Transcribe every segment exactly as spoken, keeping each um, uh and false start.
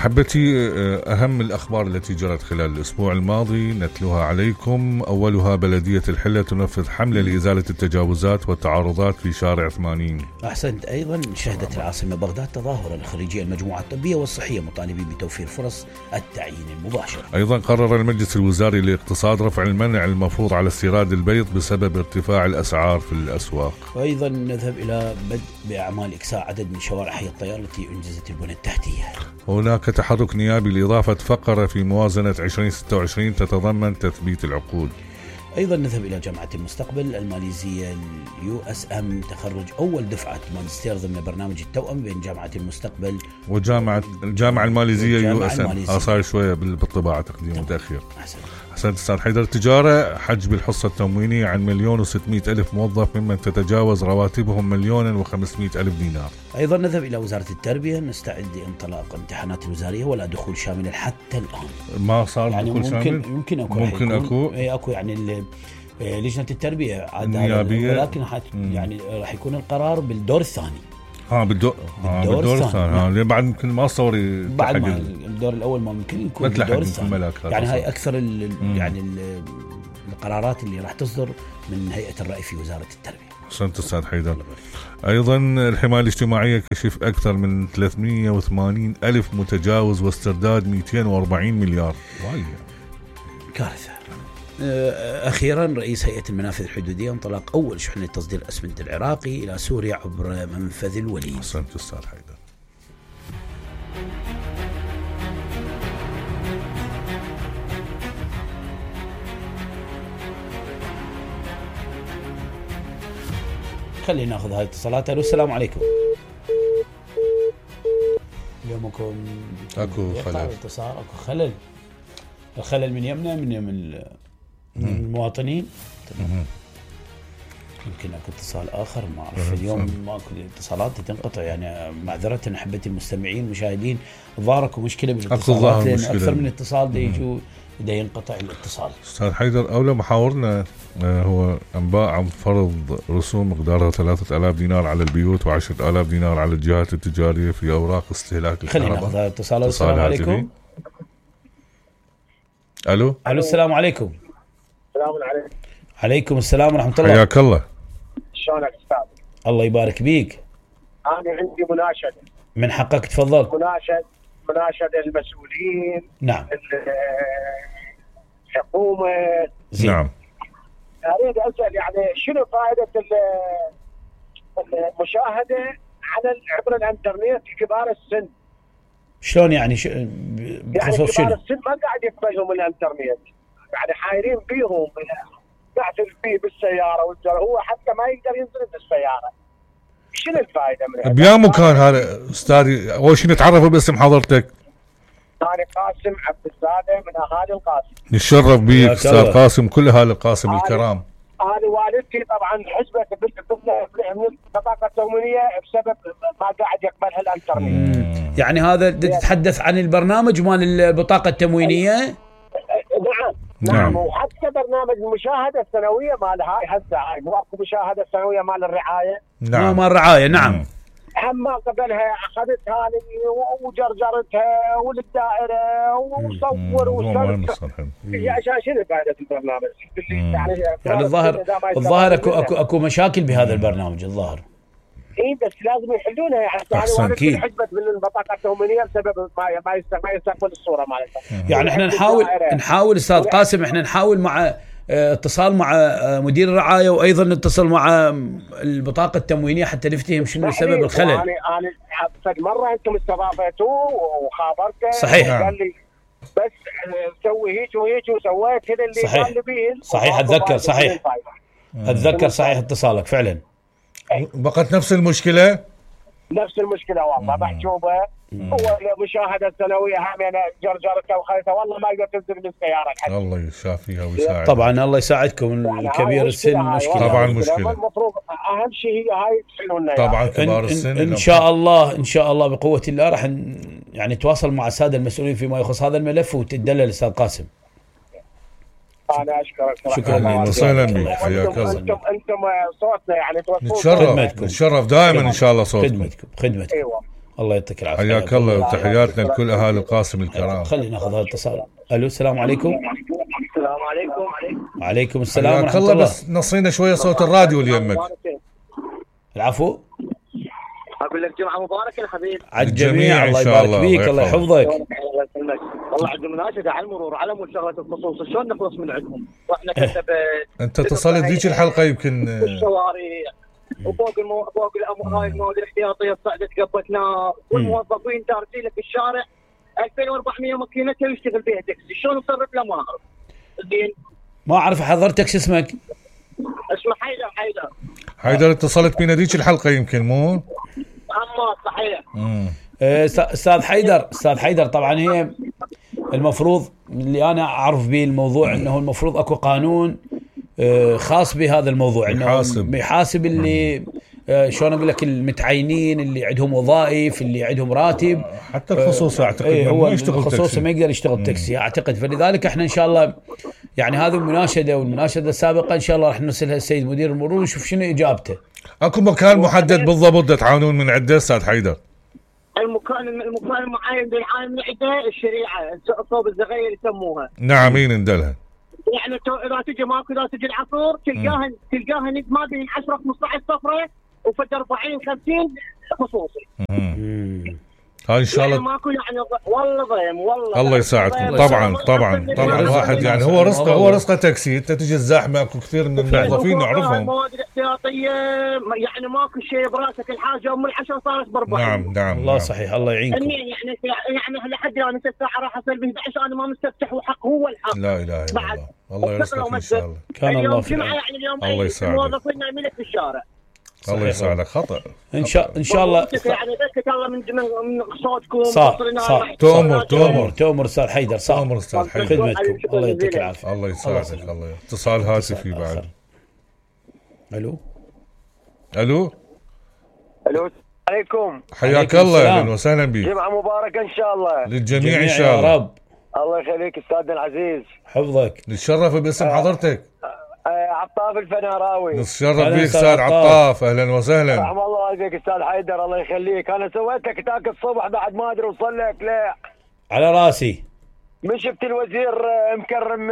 أحبتي، أهم الأخبار التي جرت خلال الأسبوع الماضي نتلوها عليكم. أولها بلدية الحلة تنفذ حملة لإزالة التجاوزات والتعارضات في شارع ثمانين. أحسنت. أيضا شهدت العاصمة بغداد تظاهرا لخريجي المجموعة الطبية والصحية مطالبين بتوفير فرص التعيين المباشر. أيضا قرر المجلس الوزاري للاقتصاد رفع المنع المفروض على استيراد البيض بسبب ارتفاع الأسعار في الأسواق. وأيضا نذهب إلى بدء بأعمال إكساء عدد من شوارع حي الطيار التي أنجزت البنى التحتية. هناك تحرك نيابي لإضافة فقرة في موازنة عشرين ستة وعشرين تتضمن تثبيت العقود. أيضا نذهب إلى جامعة المستقبل الماليزية اليو اس ام تخرج أول دفعة ماجستير ضمن برنامج التوأم بين جامعة المستقبل وجامعة الجامعة الماليزية يو اس ام. صار شوية بالطباعة تقديم متأخر. أحسن. أحسنت أستاذ حيدر. التجارة حجب الحصة التموينية عن مليون وستمائة ألف موظف ممن تتجاوز رواتبهم مليون وخمسمائة ألف دينار. أيضا نذهب إلى وزارة التربية نستعد لانطلاق امتحانات الوزارية ولا دخول شامل حتى الآن. ما صار يعني دخول ممكن شامل؟ ممكن أكو ممكن أكو أي أكو يعني لجنة التربية النيابية، ولكن يعني راح يكون القرار بالدور الثاني. ها بالدور بالدور, بالدور الثاني. ها بعد ممكن ما صوري بعد ما الدور الأول ما ممكن يكون بالدور الثاني. يعني هاي أكثر ال يعني ال القرارات اللي راح تصدر من هيئة الرأي في وزارة التربية. أحسنت أستاذ حيدر. أيضا الحماية الاجتماعية كشف أكثر من ثلاثمائة وثمانين ألف متجاوز واسترداد مئتين وأربعين مليار. واي كارثة. أخيرا رئيس هيئة المنافذ الحدودية انطلاق أول شحنة تصدير أسمنت العراقي إلى سوريا عبر منفذ الوليد. أحسنت أستاذ حيدر. خلينا ناخذ هاي الاتصالات. السلام عليكم. اليومكم اكو خلل اتصال اكو خلل. الخلل من يمنا من يم المواطنين. يمكن اكو اتصال اخر ما اعرف. اليوم ماكو اتصالات تنقطع يعني معذره احبتي المستمعين المشاهدين. الظاهر اكو مشكله بالاتصالات لان اكثر من اتصال دا يجوا دا ينقطع الاتصال. استاذ حيدر اولى محاورنا هو انباء عن فرض رسوم مقدارها ثلاثة آلاف دينار على البيوت وعشرة آلاف دينار على الجهات التجاريه في اوراق استهلاك الكهرباء. خلينا ناخذ اتصال. السلام عليكم. الو الو السلام عليكم. السلام عليكم. عليكم السلام ورحمه الله. حياك الله. شلونك استاذ؟ الله يبارك بيك. انا عندي مناشده. من حقك تفضل. مناشد مناشده المسؤولين. نعم. الحكومه. نعم. اريد اسال يعني شنو فائده المشاهده على عبر الانترنت كبار السن؟ شلون يعني ش... بخصوص يعني كبار السن ما قاعد يقبلهم الانترنت، يعني حايرين فيهم قاعد فيه بالسياره والجر هو حتى ما يقدر ينزل بالسياره. شنو الفائده من هذا؟ بيا مكان هذا استاذي. اول شيء نتعرف باسم حضرتك. انا قاسم عبد الزاده من اهالي القاسم. نتشرف بيك استاذ قاسم. كل اهالي القاسم الكرام. انا والدتي طبعا حسبت بالبطاقه التموينيه بسبب ما قاعد يقبلها الانترنت. يعني هذا تتحدث عن البرنامج مال البطاقه التموينيه؟ نعم نعم. وحتى برنامج المشاهده السنويه مال هاي هسه هاي مو اكو مشاهده السنويه مال الرعايه. نعم مال الرعايه. نعم. اما قبلها اخذتها وجرجرتها وللدائره وصور وصور. عشان شنو فائده البرنامج؟ يعني يعني الظاهر الظاهر اكو اكو اكو مشاكل بهذا البرنامج الظاهر. اي بس لازم يحلونها يعني. احسن اكيد. حجبت من البطاقه التموينيه بسبب ما ما يستقبل الصوره مالتها. يعني احنا نحاول نحاول استاذ قاسم احنا نحاول مع اتصال مع مدير الرعايه وايضا نتصل مع البطاقه التموينيه حتى نفتهم شنو سبب الخلل. انا انا فد مره انتم استضافتوه وخابرته. صحيح. قال لي بس سوي هيك وهيك وسويت كذا اللي صحيح. قال لي بيه. صحيح اتذكر. صحيح اتذكر. صحيح اتصالك فعلا. بقت نفس المشكله. نفس المشكله والله محجوبه. هو المشاهده السنويه هم انا جرجرتها وخليتها والله ما يقدر تنزل بالسياره الحين. الله يشافيها ويساعدها. طبعا الله يساعدكم. يعني الكبير السن مشكله. طبعا مشكله. المفروض اهم شيء هي هاي تحلولنا. طبعا كبار إن السن ان, إن شاء الله ان شاء الله بقوه الله راح يعني نتواصل مع الساده المسؤولين فيما يخص هذا الملف وتدلل استاذ قاسم. انا اشكرك. شكرا وسهلا. حياك الله. انتم انتم صوتنا يعني نتشرف نتشرف دائما ان شاء الله صوتكم. خدمتكم خدمتكم. ايوه الله يعطيك العافيه. حياك الله وتحياتنا لكل اهالي القاسم الكرام. خلينا ناخذ هذا الاتصال. الو السلام عليكم. السلام عليكم. وعليكم السلام ورحمه الله. الله. بس نصينا شويه صوت الراديو اللي يمك. العفو. اقول لك جمعه مباركه يا حبيبي. على الجميع. الله يبارك فيك. الله يحفظك. الله يسلمك. والله عندهم مناشده على المرور على مود شغله الخصوص، شلون نخلص من عندهم؟ واحنا كتب انت اتصلت ذيك الحلقه يمكن الشوارع وفوق المو... فوق الامور هاي المواد الاحتياطيه صعدت قبتنا، والموظفين دارسين لك بالشارع ألفين وأربعمية ماكينه يشتغل بها تاكسي، شلون نصرف له ما اعرف. زين ما اعرف حضرتك شو اسمك؟ اسمه حيدر. حيدر حيدر اتصلت بينا ذيك الحلقه يمكن مو؟ اما صحيح. امم استاذ حيدر استاذ حيدر طبعا هي المفروض اللي انا اعرف به الموضوع انه المفروض اكو قانون خاص بهذا الموضوع، انه يحاسب يحاسب اللي شلون اقول لك المتعينين اللي عندهم وظائف اللي عندهم راتب. حتى الخصوصي اعتقد ايه هو الخصوصي ما يقدر يشتغل تاكسي اعتقد. فلذلك احنا ان شاء الله يعني هذه المناشده والمناشده السابقه ان شاء الله راح نرسلها السيد مدير المرور ونشوف شنو اجابته. اكو مكان محدد بالضبط تعاونون من عنده استاذ حيدر؟ المكان المكان المعين بالعام من عنده الشريعه صوب الزغير يسموها. نعم مين ندلها؟ يعني اذا تجي ماكو اذا تجي العصر تلقاها تلقاها ما بين عشرة خمسطعش صفره وفد أربعين خمسين خصوصي. هاي ان شاء الله ماكو يعني والله ضيم والله الله يساعدكم. طبعا طبعا طبعا الواحد يعني هو رزقه هو رزقه تاكسي. انت تجي الزحمه اكو كثير من الموظفين نعرفهم. المواد الاحتياطيه يعني ماكو شيء براسك الحاجه ام العشاء صارت بربع. نعم نعم الله صحيح الله يعينكم. يعني يعني لحد الان انت الساعه راح اصير ب احد عشر انا ما مستفتح وحق هو الحق. لا اله الا الله. الله يرزقك ان شاء الله. كان الله في الجمعه يعني اليوم الله يساعدك. الموظفين نايمين في الشارع. الله يساعدك. خطأ ان شاء ان شاء الله يعني بس الله من من صوتكم صح صح تؤمر تؤمر تؤمر استاذ حيدر صح تؤمر استاذ حيدر خدمتكم. الله يعطيك العافيه. الله يساعدك. الله اتصال هاتفي بعد. الو الو الو عليكم. حياك الله اهلا وسهلا بك. جمعه مباركه ان شاء الله للجميع ان شاء الله. يا رب الله يخليك استاذنا العزيز. حفظك. نتشرف باسم حضرتك. عطاف الفناراوي. نتشرف بك استاذ عطاف اهلا وسهلا. رحم الله والديك استاذ حيدر الله يخليك. انا سويت لك تاك الصبح بعد ما ادري وصل لك لا على راسي. من شفت الوزير مكرم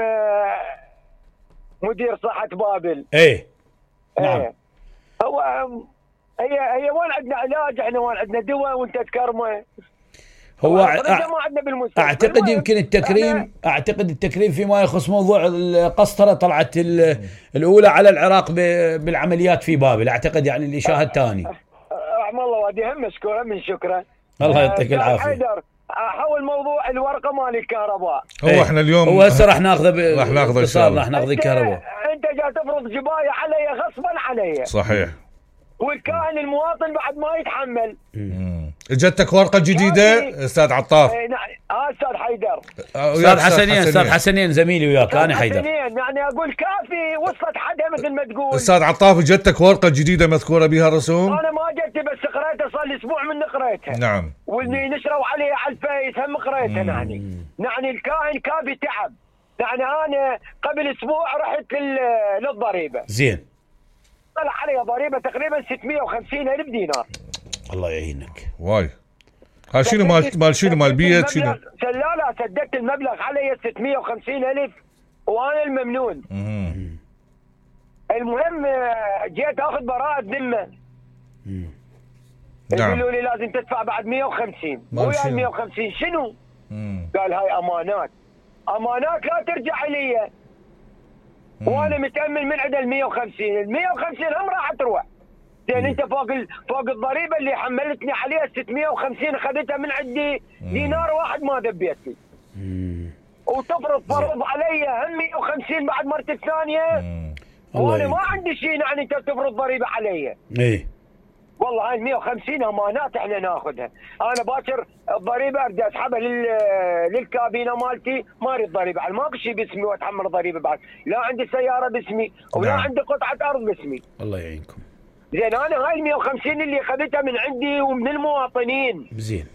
مدير صحه بابل. ايه نعم. ايه هو هي هي وين عندنا علاج احنا وين عندنا دواء وانت تكرمه. هو أع... اعتقد يمكن التكريم اعتقد التكريم فيما يخص موضوع القسطره طلعت الاولى على العراق بالعمليات في بابل اعتقد يعني اللي شاهد ثاني. رحم الله وادي هم مشكوره من شكره. الله يعطيك العافيه. حيدر حول موضوع الورقه مال الكهرباء. هو ايه. احنا اليوم هو هسه راح ناخذه ب... راح ناخذه ان شاء الله. راح ناخذ الكهرباء. انت جاي تفرض جبايه علي غصبا علي. صحيح. والكائن المواطن بعد ما يتحمل. اجتك ورقه جديده استاذ عطاف؟ اي نعم اه استاذ حيدر. استاذ حسنين استاذ حسنين زميلي وياك انا حيدر. حسنين يعني اقول كافي وصلت حدها مثل ما تقول. استاذ عطاف اجتك ورقه جديده مذكوره بها رسوم؟ انا ما جتي بس قريتها صار لي اسبوع من قريتها. نعم. واللي نشروا عليها على الفيس هم قريتها. يعني يعني الكائن كافي تعب. يعني انا قبل اسبوع رحت للضريبه. زين. طلع علي ضريبه تقريبا ستمية وخمسين ألف دينار. الله يعينك. واي. ها شنو مال مال شنو مال بيت شنو؟ لا لا سددت المبلغ علي ستمية وخمسين ألف وانا الممنون. امم المهم جيت اخذ براءة ذمة. نعم. يقولوا لي لازم تدفع بعد مية وخمسين. ويا مية وخمسين شنو؟ مم. قال هاي امانات. امانات لا ترجع لي. وانا متامل من عند ال مية وخمسين، ال مية وخمسين هم راح تروح. زين انت فوق ال... فوق الضريبه اللي حملتني عليها ستمية وخمسين اخذتها من عندي دينار واحد ما ذبيت لي. وتفرض فرض علي هم مية وخمسين بعد مرتي الثانيه. وانا ما عندي شيء يعني انت تفرض ضريبه علي. ايه والله هاي مية وخمسين امانات احنا ناخذها. انا باكر الضريبه ارجع اسحبها لل للكابينه مالتي ما اريد ضريبه، ماكو شيء باسمي واتحمل ضريبه بعد، لا عندي سياره باسمي ولا نعم. عندي قطعه ارض باسمي. الله يعينكم. زين انا هاي ال مية وخمسين اللي اخذتها من عندي ومن المواطنين. زين.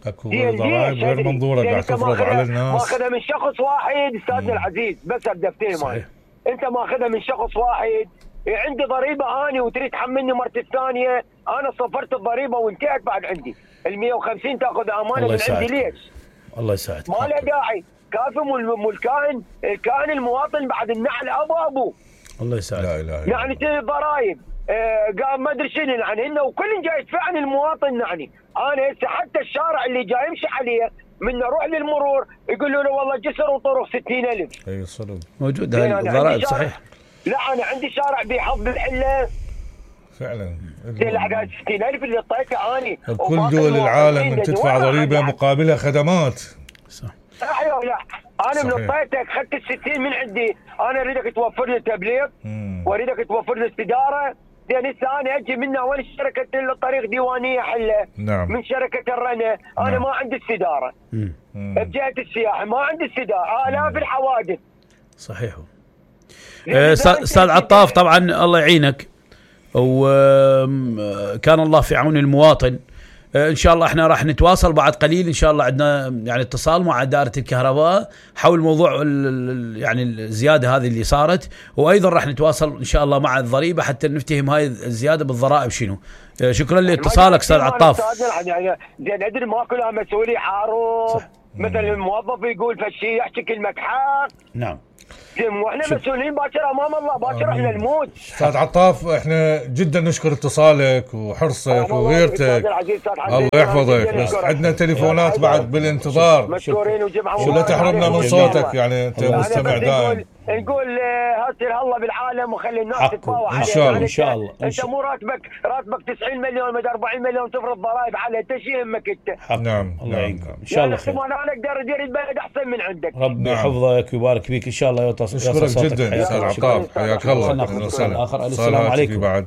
اكو ضرائب غير منظوره قاعد تفرض على الناس. ماخذها من شخص واحد استاذنا العزيز بس بدفتين مالي. انت ماخذها من شخص واحد عندي ضريبه اني وتريد تحملني مرتي الثانيه، انا صفرت الضريبه وانتهت بعد عندي. ال مية وخمسين تاخذ امانه من عندي ليش؟ الله يساعدك. ما له داعي. كافي والكائن الكائن المواطن بعد النعل ابو ابو. الله يساعدك. لا اله الا يعني ضرائب آه قام ما ادري شنو يعني هن وكل جاي يدفع عن المواطن. يعني انا هسه حتى الشارع اللي جاي يمشي عليه من اروح للمرور يقولوا له والله جسر وطرق ستين ألف. اي صدق موجود هاي الضرائب صحيح. لا انا عندي شارع بحظ الحله فعلا ستين ألف اللي اعطيته اني. كل دول العالم ان تدفع ضريبه مقابلها خدمات. صح. ايوه لا انا من اعطيتك اخذت ال ستين من عندي. انا اريدك توفر لي تبليغ واريدك توفر لي استداره. زين هسه انا اجي من اول شركه الطريق ديوانيه حله. نعم. من شركه الرنا انا نعم. ما عندي استداره. بجهه السياحه ما عندي استداره. الاف الحوادث. صحيح. استاذ عطاف طبعا الله يعينك وكان الله في عون المواطن. ان شاء الله احنا راح نتواصل بعد قليل ان شاء الله. عندنا يعني اتصال مع اداره الكهرباء حول موضوع يعني الزياده هذه اللي صارت، وايضا راح نتواصل ان شاء الله مع الضريبه حتى نفتهم هاي الزياده بالضرائب شنو. شكرا لاتصالك استاذ عطاف. يعني زين ادري ما كلها مسؤوليه عارف. مثلا الموظف يقول فشي يحكي كلمه حق. نعم. واحنا مسؤولين باكر امام الله باكر احنا نموت. استاذ عطاف احنا جدا نشكر اتصالك وحرصك وغيرتك. الله يحفظك. بس عندنا تليفونات بعد بالانتظار. مشكورين وجمعه شو لا تحرمنا من صوتك يعني انت مستمع دائم. نقول هاتر الله بالعالم وخلي الناس تتفاوض ان شاء الله ان شاء الله. انت مو راتبك راتبك تسعين مليون ولا أربعين مليون تفرض ضرائب على انت شو يهمك انت؟ نعم الله يعينكم ان شاء الله خير. انا اقدر ادير البلد احسن من عندك. ربي يحفظك ويبارك فيك ان شاء الله. يوصل اشكرك جدا استاذ عطاف حياك الله. اهلا وسهلا. السلام عليكم. بعد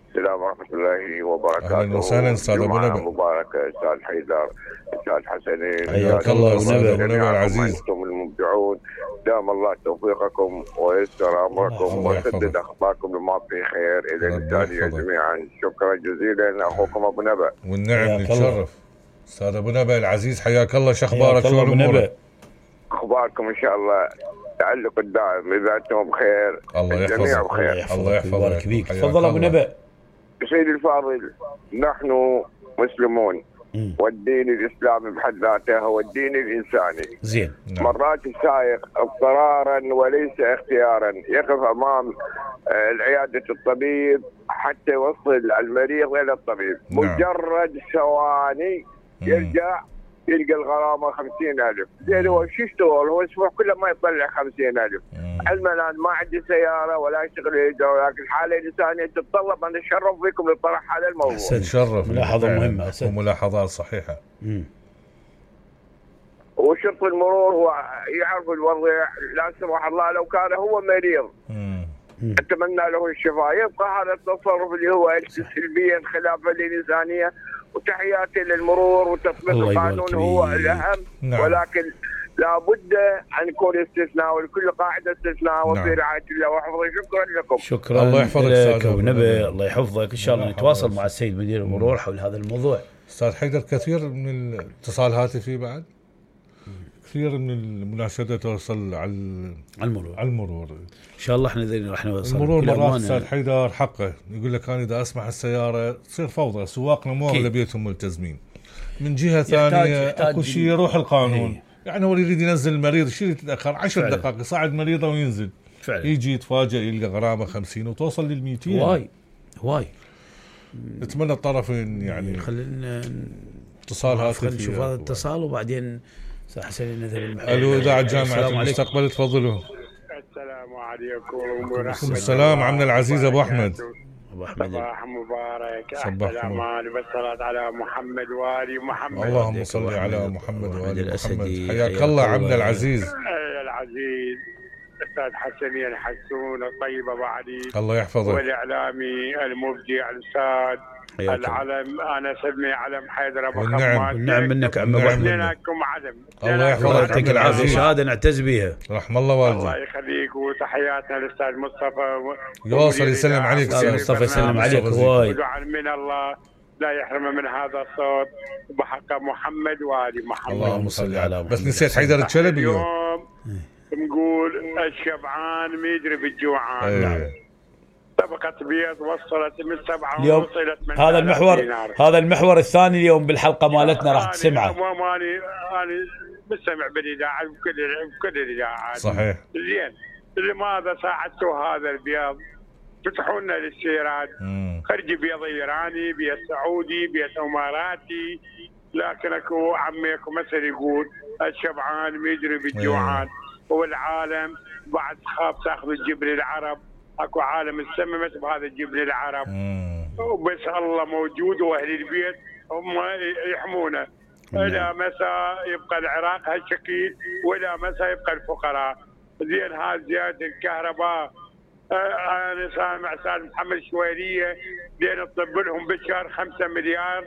السلام ورحمه الله وبركاته. اهلا وسهلا استاذ ابو نبأ. مباركه استاذ حيدر استاذ حسنين. حياك الله استاذ ابو نبأ العزيز. انتم المبدعون دام الله توفيقكم ويسر امركم وسدد اخطاءكم لما في خير الى الانسانيه جميعا. شكرا جزيلا اخوكم ابو نبأ. والنعم نتشرف استاذ ابو نبأ العزيز. حياك الله. شو اخبارك؟ شو امورك؟ اخباركم ان شاء الله تعلق الدائم اذا انتم بخير الله الجميع بخير. الله يحفظك فيك. تفضل ابو نبأ. سيدي الفاضل نحن مسلمون والدين الاسلامي بحد ذاته هو الدين الانساني. زين. مرات السائق اضطرارا وليس اختيارا يقف امام العياده الطبيب حتى يوصل المريض الى الطبيب. نعم. مجرد ثواني يرجع يلقى الغرامه خمسين ألف. زين هو شو يشتغل؟ هو اسبوع كله ما يطلع خمسين ألف. علما الان ما عندي سياره ولا اشتغل هجره، ولكن الحاله الانسانيه تتطلب ان اتشرف بكم لطرح هذا الموضوع. نشرف. ملاحظه مهمه وملاحظات صحيحه. امم وشرط المرور هو يعرف الوضع. لا سمح الله لو كان هو مريض امم اتمنى له الشفاء. يبقى هذا التصرف اللي هو سلبيا خلافا للانسانيه. وتحياتي للمرور وتطبيق القانون هو الاهم. نعم. ولكن لابد ان يكون استثناء ولكل قاعده استثناء. نعم. وفي رعايه الله وحفظه. شكرا لكم. شكرا. الله يحفظك استاذ ابو نبأ. الله يحفظك. ان شاء الله نتواصل مع السيد مدير المرور حول هذا الموضوع. استاذ حيدر كثير من الاتصال هاتفي بعد كثير من المناشده توصل على المرور. على المرور ان شاء الله احنا راح نوصل. المرور مرات استاذ حيدر حقه يقول لك انا اذا اسمح السياره تصير فوضى. سواقنا مو اغلبيتهم ملتزمين. من جهه ثانيه اكو شيء يروح القانون. هي. يعني هو يريد ينزل المريض شيء يتاخر عشر دقائق يصعد مريضه وينزل فعلا. يجي يتفاجئ يلقى غرامه خمسين وتوصل لل مئتين. هواي هواي. نتمنى الطرفين يعني خلينا اتصال هاتفي نشوف هذا الاتصال وبعدين حسين نذهب المحل. الو اذاعه جامعه المستقبل تفضلوا. السلام عليكم ورحمه السلام عمنا العزيز ابو احمد. ابو احمد صباح مبارك. صباح الامان والصلاه على محمد وآل محمد. اللهم صل على محمد وآل محمد. حياك الله عمنا العزيز. العزيز الاستاذ حسني الحسون الطيب ابو علي. الله يحفظك. والاعلامي المبدع الاستاذ العلم. انا اسمي علم حيدر ابو خماس. والنعم منك عم ابو احمد. لكم علم. الله يحفظك. يعطيك العافيه. شهاده نعتز بها. رحم الله والديك. الله يخليك. وتحياتنا للاستاذ مصطفى. يوصل يسلم عليك استاذ مصطفى. يسلم عليك هواي. ودعاء من الله لا يحرم من هذا الصوت بحق محمد وآل محمد. اللهم صل على محمد. بس نسيت حيدر الشلبي اليوم. نقول الشبعان ما يدري بالجوعان. نعم. طبقة بيض وصلت من سبعة اليوم ونص إلى ثمانية هذا المحور دينار. هذا المحور الثاني اليوم بالحلقة مالتنا راح تسمعه. أنا ماني أنا بستمع بالإذاعة بكل بكل الإذاعات. صحيح. زين لماذا ساعدتوا هذا البيض؟ فتحوا لنا الاستيراد. خرج بيض إيراني، بيض سعودي، بيض إماراتي، لكن اكو عمي اكو مثل يقول الشبعان ما يدري بالجوعان. والعالم بعد خاف تاخذ الجبن العرب، اكو عالم استممت بهذا الجبن العرب. وبس الله موجود واهل البيت هم يحمونه. الى متى يبقى العراق هالشكل والى متى يبقى الفقراء؟ زين هذه زياده الكهرباء. انا سامع استاذ محمد شويليه دين تطب لهم بالشهر خمسة مليار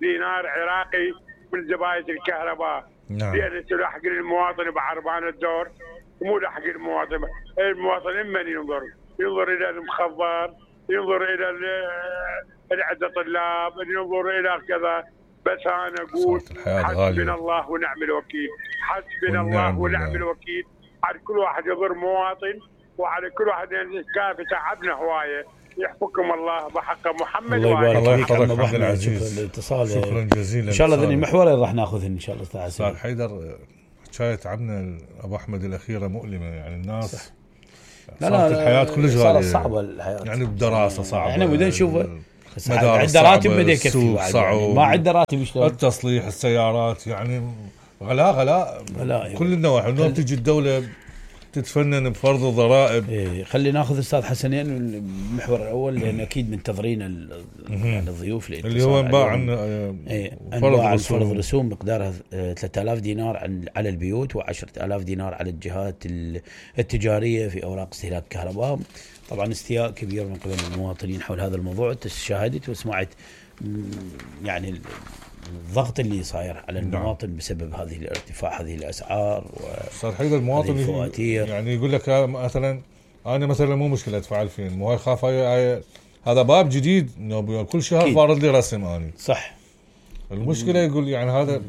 دينار عراقي من زباين الكهرباء. نعم. دين تلحق المواطن بعربان الدور، مو لحق المواطن. المواطن من ينظر؟ ينظر الى المخبر، ينظر الى العدة طلاب، ينظر الى كذا. بس انا اقول حسبنا الله ونعم الوكيل، حسبنا الله ونعم الوكيل على كل واحد يضر مواطن، وعلى كل واحد كافي تعبنا هوايه. يحفظكم الله بحق محمد. الله يبارك فيك عم ابو احمد العزيز. الاتصال شكرا جزيلا. ان شاء الله ذني المحورين راح ناخذهن ان شاء الله استاذ استاذ حيدر. حكايه تعبنا ابو احمد الاخيره مؤلمه، يعني الناس صح. لا لا الحياه كلش غاليه، صعبه الحياه، يعني الدراسه صعبه، احنا بدنا نشوف عنده راتب بدا يكفي يعني ما عنده راتب يشتغل. التصليح، السيارات، يعني غلاء غلاء غلاء كل النواحي. اليوم تجي الدوله تتفنن بفرض الضرائب. إيه خلي ناخذ استاذ حسنين المحور الاول، لان اكيد منتظرين يعني الضيوف اللي هو انباع عن إيه فرض عن فرض رسوم مقدارها ثلاثة آلاف دينار على البيوت وعشرة آلاف دينار على الجهات التجاريه في اوراق استهلاك الكهرباء. طبعا استياء كبير من قبل المواطنين حول هذا الموضوع. شاهدت وسمعت يعني الضغط اللي صاير على المواطن بسبب هذه الارتفاع هذه الاسعار. صار حيدر المواطن يعني يقول لك مثلا انا مثلا مو مشكله ادفع ألفين، مو هاي خاف هاي هذا باب جديد انه كل شهر فارض لي رسم اني. صح. المشكله يقول يعني هذا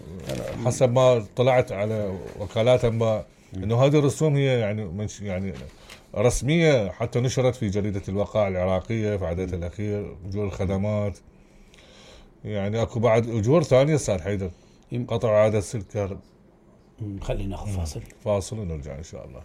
حسب ما طلعت على وكالات انباء انه هذه الرسوم هي يعني يعني رسميه، حتى نشرت في جريده الوقائع العراقيه في عددها الاخير. اجور الخدمات، يعني اكو بعد اجور ثانيه استاذ حيدر، قطع عاده السلك. خلينا ناخذ فاصل فاصل ونرجع ان شاء الله.